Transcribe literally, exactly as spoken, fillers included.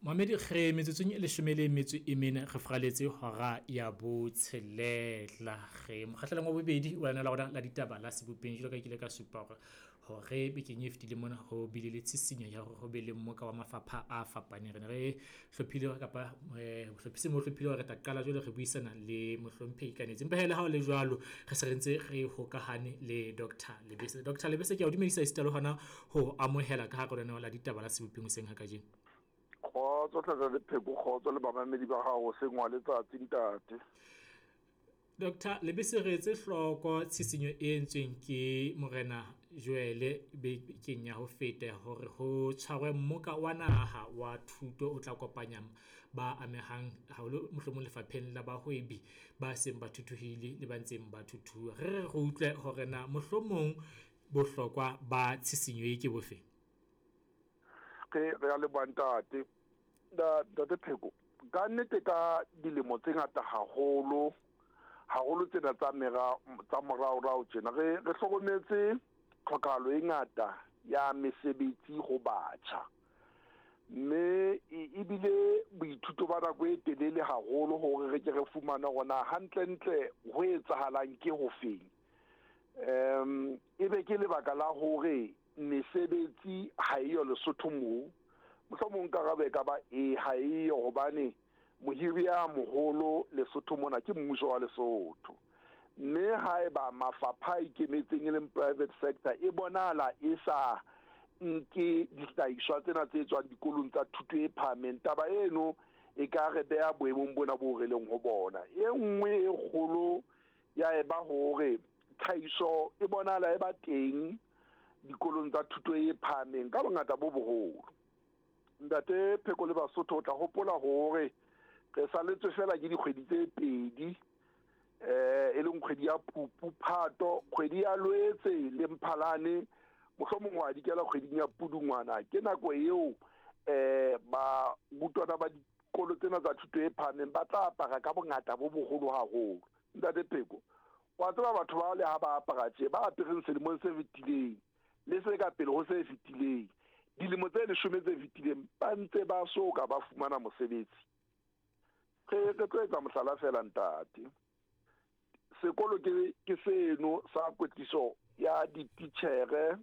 Mamedi re metsotsong e leshome le metso e mene re fraletse hora ya botshelela. Re mokgahlelong wa bobedi wa lena la rona la ditaba la sebopeng jwalo ka ke ile ka supa hore hore bekeng e fetileng mona ho bile le tshisinyo ya hore ho be le mmoka wa mafapha a fapaneng. Re ne re hlophile kapa bohlophisi bo hlophile hore re tla qala jwale re buisana le mohlomphehi Kanetsi. Empa hee le ha ho le jwalo, re se re ntse re hokahane le Doctor Lebese. Doctor Lebese, ke a o dumedisa esita le hona ho amohela ka hare lenaneo la ditaba la sebopeng hoseng ha kajeno. Kgotso Ntate Pheko, kgotso le bamamedi ba hao hoseng wa letsatsi ntate. Doctor Lebese, re etse hloko tshisinyo e entsweng ke Morena Joele bekeng ya ho feta hore ho tshwarwe mmoka wa naha wa thuto o tla kopanya ba amehang haholo mohlomong lefapheng la bahwebi ba seng ba thuthuhile le ba ntseng ba thuthuha. Re re re utlwe hore na mohlomong bohlokwa ba tshisinyo e ke bofe? Re re a leboha ntate. Ntate Pheko, ka nnete ka dilemo tse ngata haholo, haholo tsena tsa mera tsa moraorao tjena re re hlokometse tlhokahalo e ngata ya mesebetsi ho batjha. Mme ebile boithuto ba nako e telele haholo hore re ke re fumane hore na hantlentle ho etsahalang ke hofeng. Um ebe ke lebaka la hore mesebetsi ha eyo Lesotho moo. Mohlomong karabo e ka ba e ha eyo hobane mohiri ya moholo Lesotho mona ke mmuso wa Lesotho. Mme haeba mafapha a ikemetseng e leng private sector e bonahala e sa nke dihlahiswa tsena tse tswang dikolong tsa thuto e phahameng, taba eno e ka re beha boemong bona bo re leng ho bona. E nngwe e kgolo ya eba hore tlhahiso e bonahala e ba teng dikolong tsa thuto e phahameng ka bongata bo boholo. Ntate Pheko le Basotho, o tla hopola hore re saletswe fela ke dikgwedi tse pedi, eh e leng kgwedi ya Phupu, Phato, kgwedi ya Loetse le Mphalane, mohlomong wa dikela kgweding ya Pudungwana. Ke nako eo eh ba rutwana ba dikolo tsena tsa thuto e phahameng ba tla apara ka bongata bo boholo haholo. Ntate Pheko, wa tseba batho ba le ha ba apara tje, ba apereng selemong se fetileng le se ka pele ho se fetileng, dilemo tse leshome tse fetileng, ba ntse ba so ka ba fumana mosebetsi. Re re tlo etsa mohlala fela ntate. Sekolo ke ke seno sa kwetliso ya dititjhere